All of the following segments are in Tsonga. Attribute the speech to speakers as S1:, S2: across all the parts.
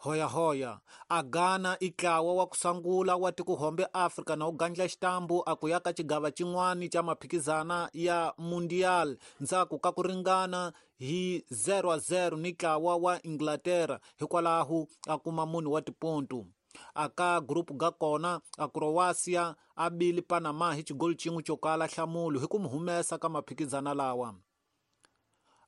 S1: Hoyahoya a Ghana i ntlawa wa ku sungula wa tikuhombe Afrika na wu gandla xitambu a ku ya ka xigava xin'wana xa maphikizana ya Mundial ndzhaku ka ku ringana hi 0-0 ni ntlawa wa Inglaterra hikwalaho a kuma munhu wa tipontu. A ka group ga kona a Croatia a bile Panama hi xigoli xin'we xo kala nhlamulo hi ku mu humesa ka maphikizana lawa.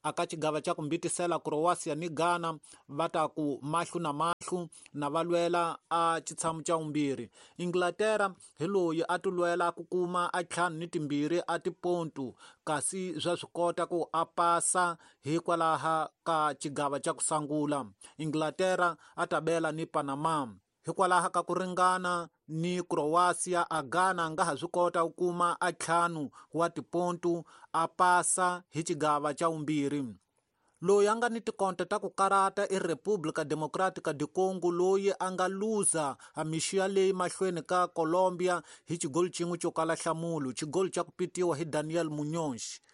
S1: A ka xigava xa ku mbitisela Croatia ni Ghana va ta ku mahlo na mahlo na va lwela a xitshamo xa vumbirhi. Inglaterra hi loyi a ti lwela ku kuma a ntlhanu ni timbirhi a tipontu kasi swa swi kota ku a pasa hikwalaho ka xigava xa ku sungula. Inglaterra a ta bela ni Panama. Hikwalaho ka ku ringana ni Croatia, a Ghana a nga ha swi kota ku kuma a ntlhanu wa tipontu a pasa hi xigava xa vumbirhi. Loyi a nga ni tikonta ta ku karata i República Democrática do Congo loyi a nga luza a mixo yaleyi mahlweni ka Colombia hi xigoli xin'we xo kala nhlamulo, xigoli xa ku pitiwa hi Daniel Muñoz.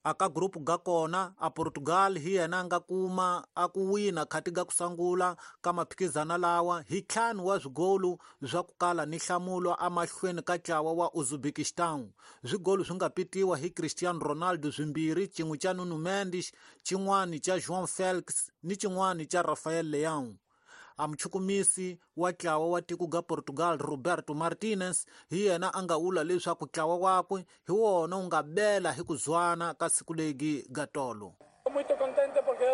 S1: A ka group ga kona a Portugal hi yena a nga kuma a ku wina khati ga ku sungula ka maphikizana lawa hi ntlhanu wa swigolu swa ku kala ni nhlamulo emahlweni ka ntlawa wa Uzbekistan. Swigolu swi nga pitiwa hi Cristiano Ronaldo swimbirhi, xin'we xa Nuno Mendes, xin'wana xa João Felix ni xin'wana xa Rafael Leão. A muchukumisi wa ntlawa wa tiko ga Portugal Roberto Martinez hi yena a nga vula leswaku ntlawa wakwe hi wona wu nga bela hi ku zwana ka siku legi ga tolo.
S2: Muito contente porque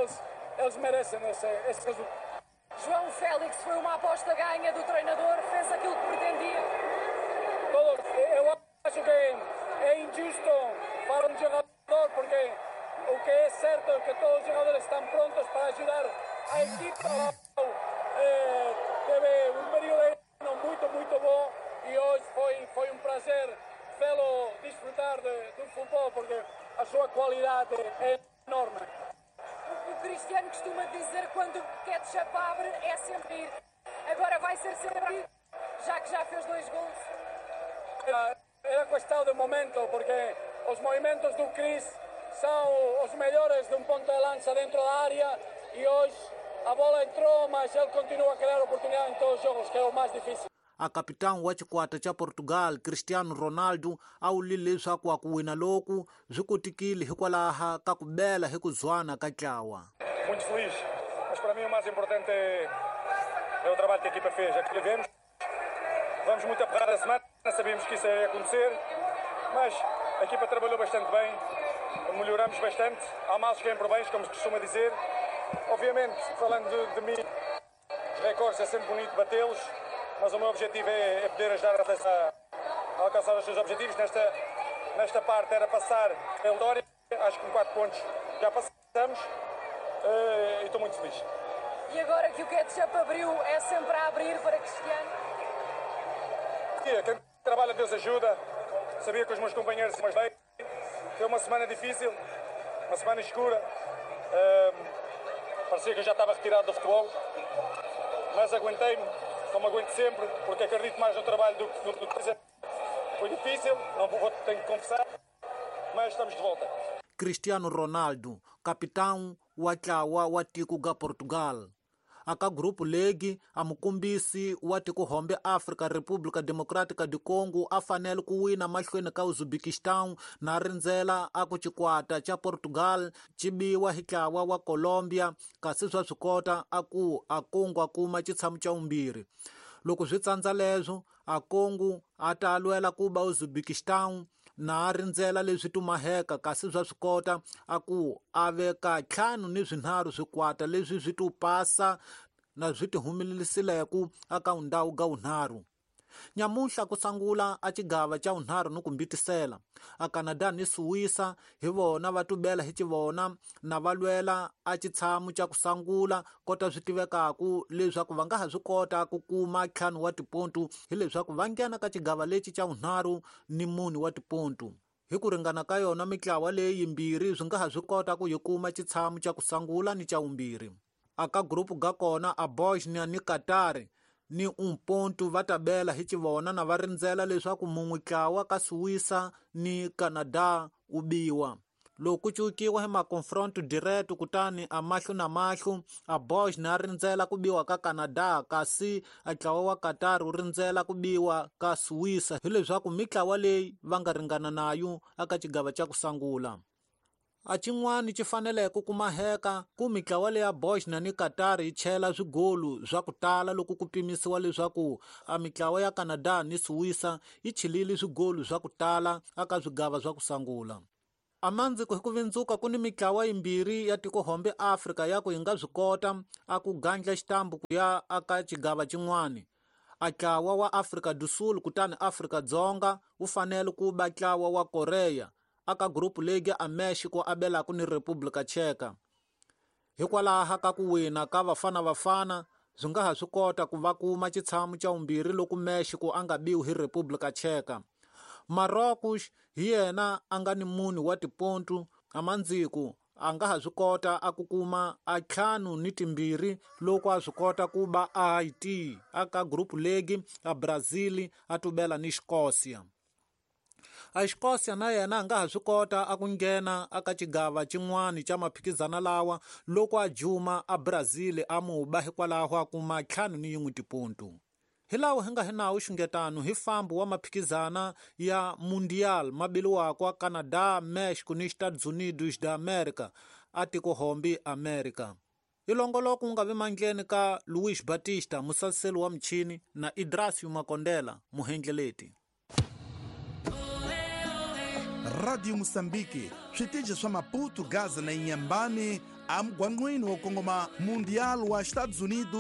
S2: eles merecem esse resultado.
S3: João Félix foi uma aposta ganha do treinador, fez aquilo que pretendia.
S2: Todos, eu acho que é injusto para um jogador porque o que é certo é que todos os jogadores estão prontos para ajudar a equipa. Teve um período muito, muito bom e hoje foi um prazer vê-lo desfrutar do futebol porque a sua qualidade é enorme.
S3: O Cristiano costuma dizer quando o ketchup abre é sempre ir. Agora vai ser sempre ir, já que já fez 2 gols.
S2: Era questão de momento, porque os movimentos do Cris são os melhores de um ponto de lança dentro da área e hoje a bola entrou, mas ele continua a criar oportunidade em todos os jogos, que é o mais difícil.
S1: A capitão wa xikwata xa Portugal Cristiano Ronaldo a wulile leswaku a ku wina loku swi kotekile hikwalaho ka ku bela hi ku zwana ka ntlawa.
S2: Muito feliz, mas para mim o mais importante é o trabalho que a equipa fez, é que tivemos. Vamos muito aperrar a semana, sabíamos que isso ia acontecer, mas a equipa trabalhou bastante bem, melhoramos bastante, há males que vêm por bens, como se costuma dizer. Obviamente, falando de mim, os recordes é sempre bonito batê-los, mas o meu objetivo é poder ajudar a alcançar os seus objetivos. Nesta parte era passar a vitória, acho que com 4 pontos já passamos e estou muito feliz.
S3: E agora que o ketchup abriu, é sempre a abrir para Cristiano?
S2: Quem trabalha, Deus ajuda. Sabia que os meus companheiros mais bem. Foi uma semana difícil, uma semana escura. Parecia que eu já estava retirado do futebol, mas aguentei-me, como aguento sempre, porque acredito mais no trabalho do que no que. Foi difícil, não vou, tenho que confessar, mas estamos de volta.
S1: Cristiano Ronaldo, capitão wa ntlawa wa tiko ga Portugal. Aka grupo legi a mukombisi wa tikuhombe Afrika República Democrática do Congo a fanele ku wina mahlweni ka Uzbekistan na rindzela a ku xikwata xa Portugal xi biwa hi ntlawa wa Colombia kasi swa swi kota a ku a Congo a kuma xitshamo xa vumbirhi. Loko swi tsandza leswo a Congo a ta lwela ku ba Uzbekistan na rindzela leswi tumaheka kasi swa swi kota a ku a veka 5 ni 3 swikwata leswi swi tu pasa na swi ti humelelisileko aka ndhawu ga vunharhu. Nyamuhla ku sungula a xigava xa vunharhu ni ku mbitisela a Canada ni Suwisa hi vona va tubela hi xivona na va lwela a xitshamo xa ku sungula kota swi tivekaku leswaku va nga ha swi kota ku kuma 5 wa tipontu hileswaku va nghena ka xigava lexi xa vunharhu ni 4 wa tipontu. Hi ku ringana ka yona mitlawa leyi yimbirhi swi nga ha swi kota ku yi kuma xitshamo xa ku sungula ni xa vumbirhi. Aka grupu ga kona a Bosnia ni Qatar ni 1 ponto va ta bela hi xivona na va rindzela leswaku mun'we ntlawa ka Suwisa ni Canada wu biwa. Loko ku cukiwa hi maconfronto direto kutani a mahlo na mahlo, a Bosnia a rindzela ku biwa ka Canada kasi a ntlawa wa Qatar wu rindzela ku biwa ka Suíça, hileswaku mitlawa leyi va nga ringana nayo aka xigava xa ku sungula. A xin'wana xi faneleke ku maheka ku mitlawa leya Bosnia ni Qatar yi chela swigolu swa ku tala loko ku pimisiwa leswaku a mitlawa ya Canada ni Suíça yi chilile swigolu swa ku tala aka swigava swa ku sungula. Amandziko hi ku vindzuka ku ni mitlawa yimbirhi ya tikohombe Afrika ya ku yi nga swi kota a ku gandla xitambu ku ya aka xigava xin'wana. A ntlawa wa Afrika do Sul kutani Afrika Dzonga wu fanele ku ba ntlawa wa Korea aka group league a Mexico abelaka ni República Checa. Hikwalaho ka ku wina ka Bafana Bafana swi nga ha swi kota ku va kuma xitshamo xa vumbirhi loko Mexico a nga biwi hi República Checa. Marrocos hi yena a nga ni mune wa tipontu amandziko a nga ha swi kota a ku kuma a 52 loko a swi kota ku ba a Haiti aka group league a Brazil a tubela ni Escócia. A Escócia na yena a nga ha swi kota a ku nghena aka xigava xin'wana xa maphikizana lawa loko a juma a Brazil a mu ba hikwalaho a kuma 51 tipontu. Hi lawa hi nga hi nawu xungetano hi fambo wa maphikizana ya Mundial mabiliwaka Canada, Mexico ni Estados Unidos da América a tikohombi America. Ilongoloko wu nga vi mandleni ka Luis Batista musaseli wa michini na Idrasio Makondela muhendleleti.
S4: Radio Moçambique, switichi swa Maputo, Gaza na Inhambane, amugwangqwini wo kongoma Mundial wa Estados Unidos.